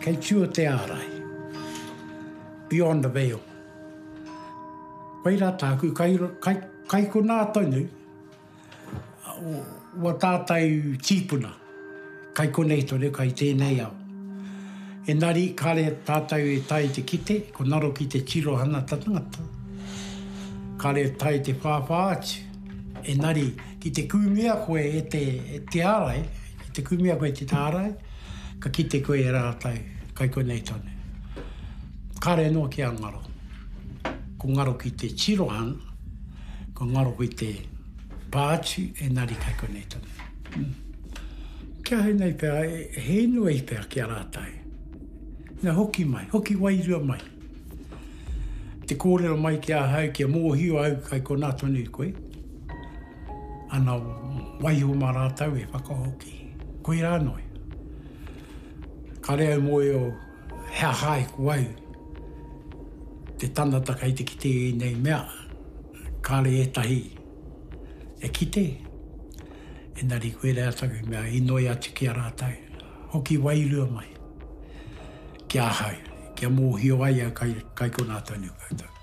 Kei tua te ārai. Beyond the veil. Koirā tāku, kai, kai, kai konā tonu, Ua tātou tīpuna, kai konei tonu, kai tēnei ao. Engari, kāre tātou e tae te kite, ko ngaro ki te tirohanga tangata, kāre e tae te whāwhā atu. Engari, ki te kūmea koe e te, e te ārai, ki te kūmea koe e te ārai, ka kite koe e rātou, kai konei tonu. Kāre anō kia ngaro. Ko ngaro ki te tirohanga, Ko ngaro ki te pā atu, engari kai konei tonu. Kia ahau nei pea, he inoi pea ki a rātou. Ina hoki mai, hoki wairua mai. Te kōrero mai ki ahau, kia mōhio au kai konā tonu koe. Ana waiho mā rātou e whakahoki. Koirā noa. Kare au mōhio He aha ai ko au te tangata kei te kite i ēnei mea, kāre ētahi e kite, engari koirā taku mea inoi atu ki a rātou, hoki wairua mai ki ahau, kia mōhio ai au kai, kai konā tonu koutou.